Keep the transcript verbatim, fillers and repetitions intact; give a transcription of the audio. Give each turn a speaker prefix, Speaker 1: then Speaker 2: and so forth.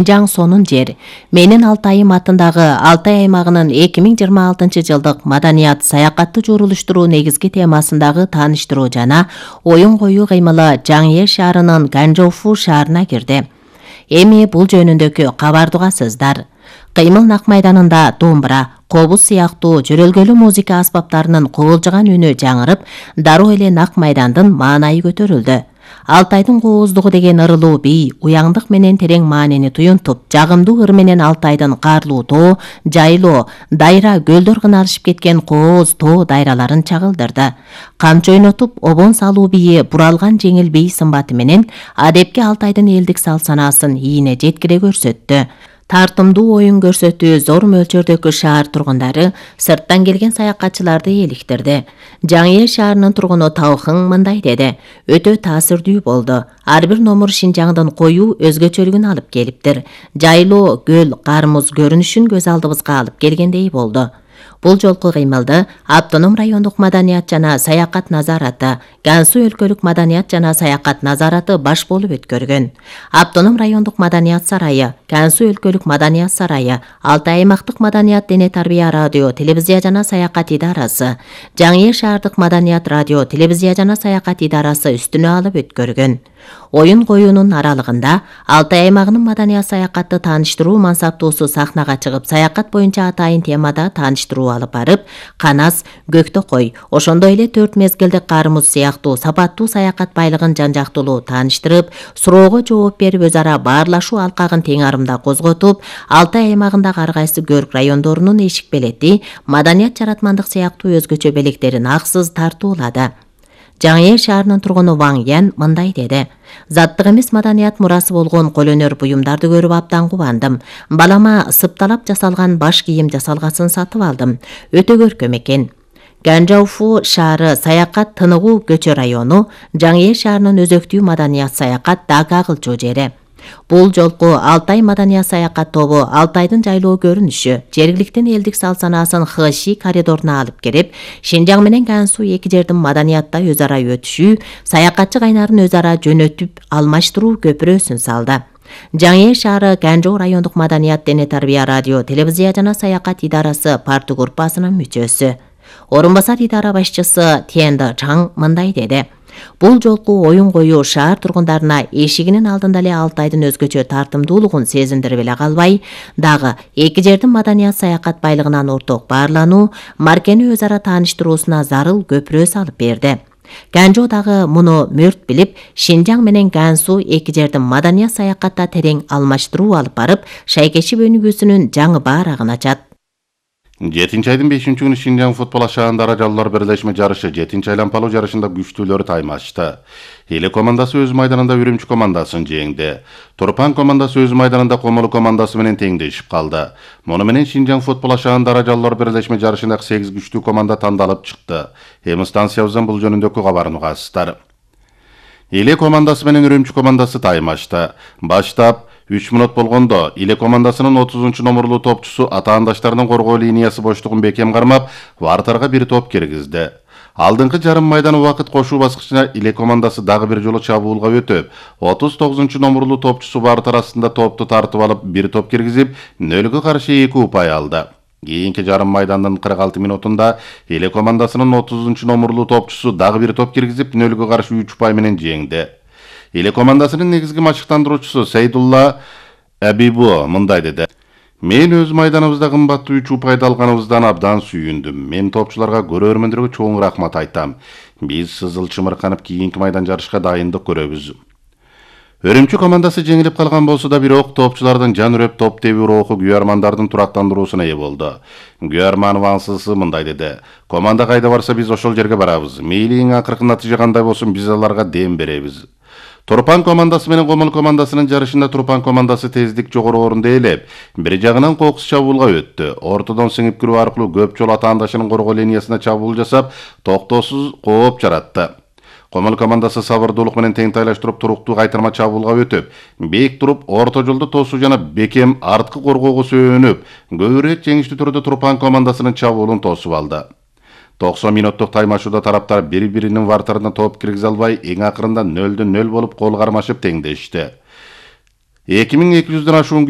Speaker 1: Жаң сонун жер. Менин Алтайым атындагы Алтай аймагынын эки миң жыйырма алтынчы жылдык маданият саякатты журулуштуруу негизги темасындагы тааныштыруу жана оюн коюу кыймылы Жаң Эл шаарынын Ганжоуфу шаарына кирди. Эми бул жөнүндөгү кабарды угасыздар. Кыймыл нак майданында домбура, кобуз сыяктуу жөрөлгөлүү музыка аспаптарынын кубулжуган үнү жаңырып, дароо эле нак майдандын маанайы көтөрүлдү. Алтайдын кооздугу деген ырылуу бий, уяңдык менен терең маанини туюнтуп, жагымдуу ыр менен Алтайдын карлуу тоо, жайлоо, дайра, көлдөр кыналышып кеткен кооз тоо дайраларын чагылдырды. Камчы ойнотуп, обон салуу бийи буралган жеңил бий сымбаты менен адепке Алтайдын элдик сал-санаасын ийине жеткире көрсөттү. Тартымдуу оюн көрсөтүү зор мөлчөрдөгү шаар тургундары, сырттан келген саякатчыларды эликтирди. Жаң Эл шаарынын тургуну Таухың мындай деди: "Өтө таасирдүү болду. Ар бир номур Шинжаңдын коюу өзгөчөлүгүн алып келиптир. Жайлоо, көл, кармуз көрүнүшүн көз алдыбызга алып келгендей болду." Бул жолку кыймылды Автоном райондук маданият жана саякат назараты, Гансу өлкөлүк маданият жана саякат назараты баш болуп өткөргөн. Автоном райондук маданият сарайы, Гансу өлкөлүк маданият сарайы, Алтай аймактык маданият дене тарбия радио, телевизия жана саякат идарасы, Жаң Эл шаардык маданият радио, телевизия жана саякат идарасы үстүнө алып өткөргөн. Оюн коюунун аралыгында Алтай аймагынын маданият саякатты тааныштыруу мансаптуусу сахнага чыгып, саякат боюнча атайын темада тааныштыруу алып барып, канас, көктөкой, ошондой эле төрт мезгилдик кармуз сыяктуу сапаттуу саякат байлыгын жан-жактуулуу тааныштырып, суроого жооп берип, өз ара баарлашуу алкагын тең арымда козготуп, Алтай аймагындагы ар кайсы көрк райондорунун эшик белети, маданият жаратмандык сыяктуу өзгөчө белектерин аксыз тартуулады. Жаң Эл шаарынын тургуну Ваң Ян мындай деди: "Заттык эмес маданият мурасы болгон колөнөр буюмдарды көрүп абдан кубандым. Балама сыпталап жасалган баш кийим жасалгасын сатып алдым. Өтө көркөм экен." Ганжоуфу шаары саякат тыныгуу көчө району, Жаң Эл шаарынын өзөктүү маданият саякат дагы кылчу жери. Бул жолку Алтай маданият саякат тобу Алтайдын жайлоо көрүнүшү, жергиликтин элдик сал-санаасын Хыши коридоруна алып кирип, Шинжаң менен Гансу эки жердин маданиятта өз ара өтүшүү, саякатчы кайнарын өз ара жөнөтүп алмаштыруу көпүрөсүн салды. Жаң Эл шаары Ганжоо райондук маданият дене тарбия радио, телевизия жана саякат идарасы парты группасынын мүчөсү. Орун басар идара башчысы Тенда Чаң мындай деди: "Бул жолку оюн коюу шаар тургундарына эшигинин алдында эле Алтайдын өзгөчө тартымдуулугун сезиндирип эле калбай, дагы эки жердин маданият саякат байлыгынан орток баарлануу, маркени өз ара тааныштыруусуна зарыл көпүрө салып берди." Ганжоо дагы муну мөрт билип, Шинжаң менен Гансу эки жердин маданият саякатта терең алмаштыруу алып барып, шайкеши өнүгүүсүнүн жаңы баарагын ачат.
Speaker 2: жетинчи айдын бешинчи күнү Шинжаң футбол ашаанда даражалуулар бирлешме жарышы жетинчи айланпалуу жарышында күчтүүлөрү таймашты. Эле командасы өз майданында Үрүмчү командасын жеңди. Турпан командасы өз майданында Комолу командасы менен теңдешип калды. Муну менен Шинжаң футбол ашаанда даражалуулар бирлешме жарышындагы сегиз күчтүү команда тандалып чыкты. Эми станциябыздан бул жөнүндөгү кабарын угасыздар. Эле командасы менен Үрүмчү командасы таймашты. Баштап үч мүнөт болгондо Иле командасынын отузунчу номурлуу топчусу атаандаштарынын коргоо линиясы боштугун бекем кармап, вартарга бир топ киргизди. Алдыңкы жарым майдан убакыт кошуу баскычына Иле командасы дагы бир жолу чабуулга өтүп, отуз тогузунчу номурлуу топчусу вартар астында топту тартып алып, бир топ киргизип, нөлгө каршы эки упай алды. Кийинки жарым майдандын кырк алты минутунда Иле командасынын отузунчу номурлуу топчусу дагы бир топ киргизип, нөлгө каршы үч упай менен жеңди. Иле командасынын негизги машыктандыруучусу Сейдулла Абибу мындай деди: "Мен өз майданыбызда кымбаттуу үч упайды алганыбыздан абдан сүйүндүм. Мен топчуларга, көрөрмөндөргө чоң рахмат айтам. Биз сызыл чымырканып кийинки майдан жарышка дайындык көрөбүз." Үрүмчү командасы жеңилип калган болсо да, бирок топчулардын жан үрөп топ тебүү руху Гүйармандардын турактандыруусуна ээ болду. Гүйарманов ансысы мындай деди: "Команда кайда барса биз ошол жерге барабыз. Мейли эң акыркы натыйжа кандай болсун, биз аларга дем беребиз." Турпан командасы менен Комол командасынын жарышында Турпан командасы тездик жогору орунду ээлеп, бир жагынан кокус чабуулга өттү. Ортодон сиңип кирүү аркылуу көп жолу атаандашынын коргоо линиясына чабуул жасап, токтоосуз кооп жаратты. Комол командасы сабырдуулук менен тең тайлаштырып, туруктуу кайтарма чабуулга өтүп, бейик туруп, орто жолду тосуу жана бекем арткы коргоого сөөнүп, көбүрөөк жеңиштүү түрдө Турпан командасынын чабуулун тосуп алды. токсон минуттук таймашууда тараптар бири-биринин вартарына топ киргизе албай, эң акырында нөлдө нөл болуп кол кармашып теңдешти. эки миң эки жүздөн ашуун